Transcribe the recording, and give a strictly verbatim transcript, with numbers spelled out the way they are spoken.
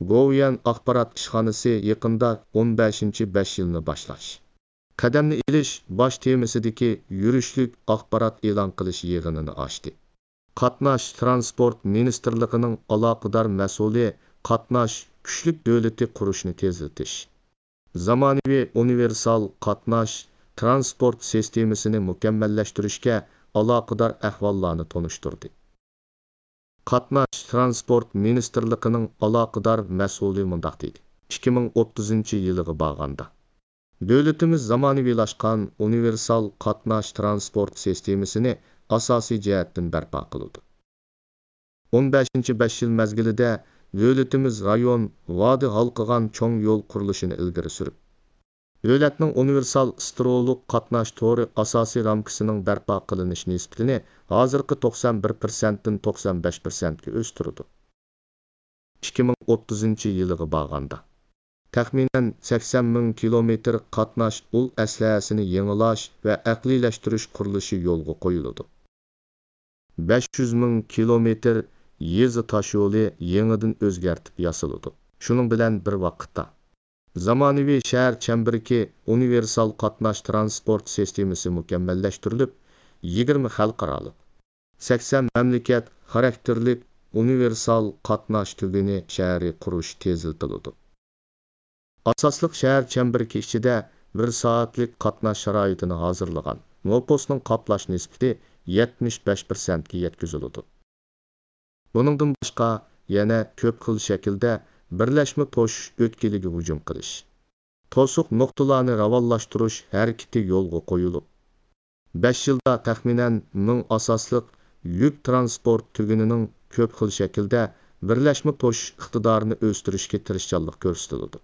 گوۋۇيۈەن ئاخبارات ئىشخانىسى يېقىندا ئون بەشىنچى بەش يىلنى باشلاش، قەدەمنى ئېلىش باش تېمىسىدىكى يۈرۈشلۈك ئاخبارات ئېلان قىلىش يىغىنىنى ئاچتى. قاتناش تىرانسپورت مىنىستىرلىقىنىڭ ئالاقىدار مەسئۇلى قاتناش كۈچلۈك دۆلىتى قۇرۇشنى تېزلىتىش، زامانىۋى ئۇنىۋېرسال قاتناش تىرانسپورت سىستېمىسىنى مۇكەممەللەشتۈرۈشكە ئالاقىدار ئەھۋاللارنى تونۇشتۇردى. قاتناش تىرانسپورت مىنىستىرلىقىنىڭ ئالاقىدار مەسئۇلى مۇنداق دېدى: ئىككى مىڭ ئوتتۇزىنچى يىلىغا بارغاندا، دۆلىتىمىز زامانىۋىلاشقان ئۇنىۋېرسال قاتناش تىرانسپورت سىستېمىسىنى ئاساسىي جەھەتتىن بەرپا قىلىدۇ. ئون بەشىنچى بەش يىل مەزگىلىدە دۆلىتىمىز رايون، ۋادى ھالقىغان چوڭ يول قۇرۇلۇشىنى ئىلگىرى سۈرۈپ، دۆلەتنىڭ ئۇنىۋېرسال ستىرولۇق قاتناش تورى ئاساسىي رامكىسىنىڭ بەرپا قىلىنىش نىسبىتىنى ھازىرقى توقسان بىر پىرسەنتتىن توقسان بەش پىرسەنتكە ئۆستۈرىدۇ. ئىككى مىڭ ئوتتۇزىنچى يىلىغا بارغاندا، تەخمىنەن سەكسەن مىڭ كىلومېتىر قاتناش ئۇل ئەسلىھەسىنى يېڭىلاش ۋە ئەقلىيلەشتۈرۈش قۇرۇلۇشى يولغا قويۇلىدۇ. بەش يۈز مىڭ كىلومېتىر يېزا تاشيولى يېڭىدىن ئۆزگەرتىپ ياسىلىدۇ. شۇنىڭ بىلەن بىر ۋاقىتتا، زامانىۋى شەھەر چەمبىرىكى ئۇنىۋېرسال قاتناش تىرانسپورت سىستېمىسى مۇكەممەللەشتۈرۈلۈپ، يىگىرمە خەلقئارالىق، سەكسەن مەملىكەت خاراكتېرلىك ئۇنىۋېرسال قاتناش تۈگۈنى شەھىرى قۇرۇش تېزلىتىلىدۇ. ئاساسلىق شەھەر چەمبىرىكى ئىچىدە بىر سائەتلىك قاتناش شارائىتىنى ھازىرلىغان نوپۇسنىڭ قاپلاش نىسبىتى يەتمىش بەش پىرسەنتكە يەتكۈزۈلىدۇ. بۇنىڭدىن باشقا، يەنە كۆپ خىل شەكىلدە بىرلەشمە توشۇش ئۆتكىلىگە ھۇجۇم قىلىش، توسۇق نۇقتىلارنى راۋانلاشتۇرۇش ھەرىكىتى يولغا قويۇلۇپ، بەش يىلدا تەخمىنەن مىڭ ئاساسلىق يۈك تىرانسپورت تۈگۈنىنىڭ كۆپ خىل شەكىلدە بىرلەشمە توشۇش ئىقتىدارىنى ئۆستۈرۈشكە تىرىشچانلىق كۆرسىتىلىدۇ.